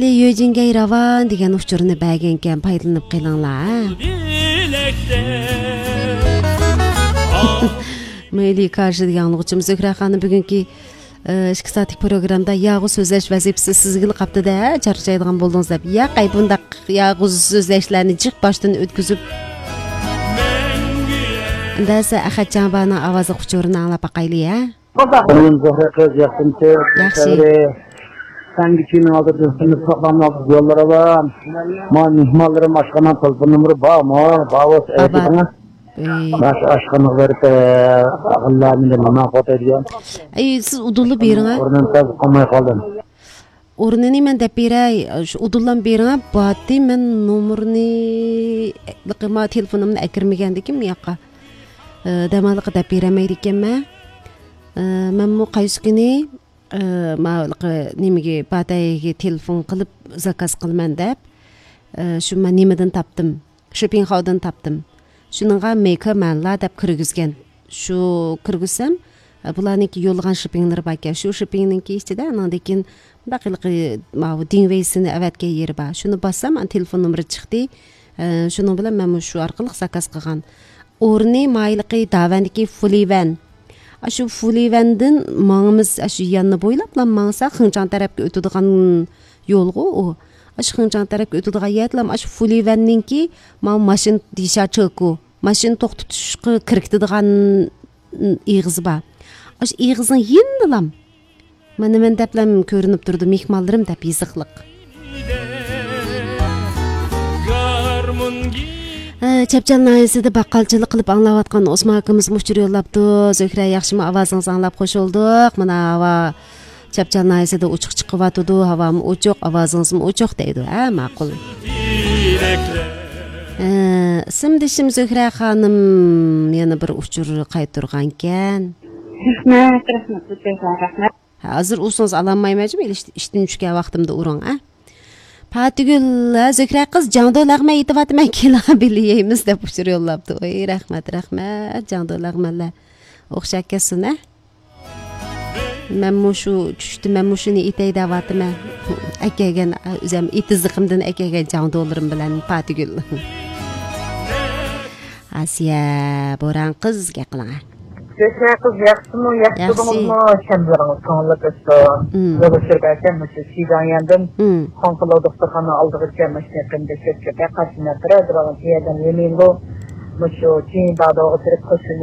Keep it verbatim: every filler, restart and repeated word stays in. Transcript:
يۆجىنگەي راۋان دېگەن ئۇچۇرنى بەرگەنكەن، پايدىلىنىپ قېلىڭلار، ھە؟ مەيلى، كارشى دېگەن ئاڭلىغۇچىمىز زۆھرە خانىم بۈگۈنكى، ئە، ئىككى سائەتلىك پروگراممدا ياغۇ سۆزلەش ۋەزىپىسى سىزگىلا قاپتۇ-دە، چارچايدىغان بولدىڭىز دەپ. ياق، ئەي، بۇنداق ياغۇ سۆزلەشلەرنى جىق باشتىن ئۆتكۈزۈپ، ئەمدى ئەخەتجان بارنىڭ ئاۋازلىق ئۇچۇرىنى ئاڭلاپ باقايلى، ھە؟ مېنىڭ زۆھرە قىز، ياخشىمۇسىز؟ ياخشى. سەنگە كىيىمنىڭ ئالدىدا سىنىپ ساقلامنىڭ يوللىرى بار. ما مېھمانلىرىم ئاشخانا تېلېفون نومۇرى بارمۇ؟ بار بولسا بار، بار. ئېيتىڭ. ئەي. ماش ئاشخانىغا بېرىپ، ئاللانى نېمە قوتايدىغان. ئەي، سىز ئۇدۇللا بېرىڭ، ھە؟ ئورنىم تەس قالماي قالدىم. ئورنىنى مەن دەپ بېرەي، شۇ ئۇدۇللام بېرىڭە، باتى مەن نومۇرنى، ما تېلېفونۇمنى ئەكىرمىگەندىكىن بۇ ياققا. ئى، دەماللىققا دەپ بېرەلمەيدىكەنمەن. ئى، مەنمۇ قايسى كۈنى، ئى، ما نېمىگە، باتەيگە تېلېفون قىلىپ زاكاز قىلىمەن دەپ، ئى، شۇ مەن نېمىدىن تاپتىم. شېپىڭخاۋدىن تاپتىم. شۇنىڭغا مېيكې مەنلا دەپ كىرگۈزگەن. شۇ كىرگۈزسەم، بۇلارنىڭكى يوللىغان شېپىڭلىرى باركەن. شۇ شېپىڭنىڭكى ئىچىدە ئانىڭدىن كېيىن مۇنداق ھېلىقى ماۋۇ دىڭۋېيسىنى ئەۋەتكەن يېرى بار. شۇنى باسسام، ئانا تېلېفون نومۇرى چىقتى. ئە، شۇنىڭ بىلەن مەنمۇ شۇ ئارقىلىق زاكاز قىلغان. ئورنى مايلىقى داۋەندىكى فۇلىۋەن. ئاشۇ فۇلىۋەندىن ماڭىمىز، ئاشۇ ياننى بويلاپلا ماڭسا، خېڭچاڭ تەرەپكە ئۆتىدىغان يولغۇ ئۇ. ئاشۇ خېڭچاڭ تەرەپكە ئۆتىدىغان يەردىلا ئاشۇ فۇلىۋەننىڭكى ماۋۇ ماشىنا دىشا چېكۇ، ماشىنا توختىتىشقا كىركىتىدىغان ئېغىزى بار. ئاشۇ ئېغىزنىڭ يېنىدىلام مانا مەن دەپلەم كۆرۈنۈپ تۇرىدۇ، مېھمانلىرىم دەپ يېزىقلىق. ھە، چەپچەل ناھىيەسىدە باققالچىلىق قىلىپ ئاڭلاۋاتقان ئوسمان ئاكىمىزمۇ ئۇچۇر يوللاپتۇ. زۆھرە، ياخشىمۇ؟ ئاۋازىڭىزنى ئاڭلاپ خوش بولدۇق. مانا ھاۋا چەپچەل ناھىيەسىدە ئوچۇق چىقىۋاتىدۇ. ھاۋامۇ ئوچۇق، ئاۋازىڭىزمۇ ئوچۇق دەيدۇ. ھە، ماقۇل. ھە، ئىسىمدىشىم زۆھرە خانىم يەنە بىر ئۇچۇر قايتۇرغانكەن. رەھمەت، رەھمەت، رەھمەت. ھە، ھازىر ئۇرسىڭىز ئالالمايمەن جۇمۇ، ئىشتىن چۈشكەن ۋاقتىمدا ئۇرۇڭ، ھە. پاتىگۈل، ھە، زۆھرە قىز، جاڭدۇ لەغمەن ئېيتىۋاتىمەن، كېلىڭ بىللە يەيمىز دەپ ئۇچۇر يوللاپتۇ. ئوي، رەھمەت، رەھمەت، جاڭدۇ لەغمەنلەر. ئوخشاپ كەتسۇن، ھە. مەنمۇ شۇ چۈشتە مەنمۇ شۇنى ئېيتەي دەۋاتىمەن. ئەكەلگەن، ئۆزەم ئېتىزلىقىمدىن ئەكەلگەن جاڭدۇلىرىم بىلەن پاتىگۈل. ئاسىيە بوران قىز، گەپ قىلىڭە. زۆھرە قىز، ياخشىمۇ؟ ياخشى ياخشى. بولدىڭىزمۇ؟ شەملىرىڭىز كۆڭۈللۈك ئۆتسۇن. مم. يولدا سۈرگەنكەن مۇشۇ شىجاڭيەندىن مم. خۇاڭخېلو دوختۇرخانا ئالدىغىچە ماشىنا قېنىدەك كۆپ چۆپكە قارشى مەن تۇرار دېۋالغان يەردىن يېمەيلۇ. مۇشۇ چىڭدادو ئولتۇرۇپ قوشۇن